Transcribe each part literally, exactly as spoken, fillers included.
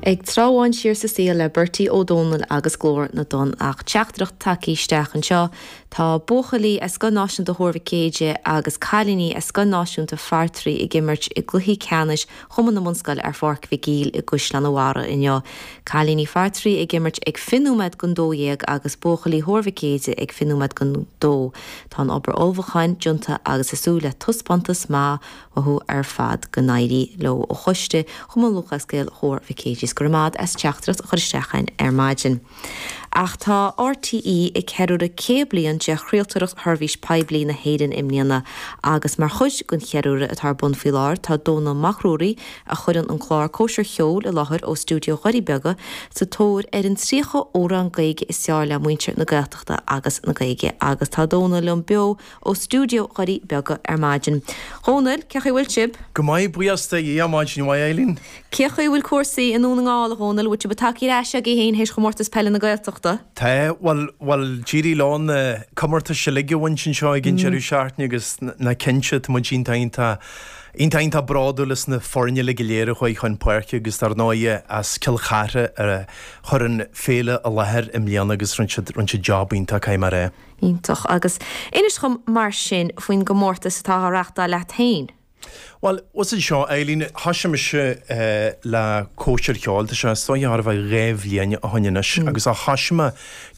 Ag treabhadh siar sa saol le Bertie Ó Dónaill agus Glór na dTonn ach teachtaireacht tagtha isteach anseo tá buachaillí as Scoil Náisiúnta Thuar Mhic Éide agus cailíní as Scoil Náisiúnta Phartraí ag imirt i gcluiche ceannais Chumann na mBunscol ar Pháirc Mhic Éil i gCaisleán an Bharraigh inniu. Cailíní Phartraí ag imirt ag fiche nóiméad don dó dhéag agus buachaillí Thuar Mhic Éide ag fiche nóiméad don dó. Tá an obair ullmhúcháin déanta agus ag súil le taispeántas maith uathu ar fad go n-éirí leo ó choiste Chumann Lúthchleas Gael Thuar Mhic Éide go raibh maith as teachtaireacht a chur isteach ar maidin. Ach tá RTÉ ag ceiliúradh céad bliain de chraoltóireacht sheirbhís poiblí na hÉireann i mbliana agus mar chuid den cheiliúradh atá ar bun faoi láthair tá Dónall Mac Ruairí a chuireann an clár Cóisir Cheoil i láthair ó stiúideo Dhoirí Beaga sa tóir ar an tríocha amhrán Gaeilge is fearr le muintir na Gaeltachta agus na Gaeilge agus tá Dónall liom beo ó stiúideo Dhoirí Beaga ar maidin. Dhónaill cén chaoi bhfuil sibh? Go maith buíochas do Dhia maidin mhaith Eileen. Cén chaoi bhfuil cúrsaí i nDún na nGall Dhónaill bhfuil sibh tagtha ar ais agaibh féin théis chomórtas peile na Gaeltachta. Tá bhuel bhuel d'éirigh leo na comórtais uilig a bhaint anseo ag an deireadh seachtaine agus na cinnte tá muid iontach iontach iontach iontach bródúil as na foirne uilig go léir a chuaigh chun páirce agus dar ndóigh as Cill Chartha a chuir an féile i láthair i mbliana agus rinne siad rinne siad job iontach caithfidh mé a rá. Iontach agus inis dom mar sin faoin gcomórtas atá á reáchtáil leat féin. Well, was seo Eileen thosaigh mise uh, le Cóisir Cheoil tá sé seo ar bheith dhá bhliain ó shin anois agus a thosaigh mé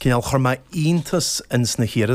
cineál chuir mé iontas ins na hiarratais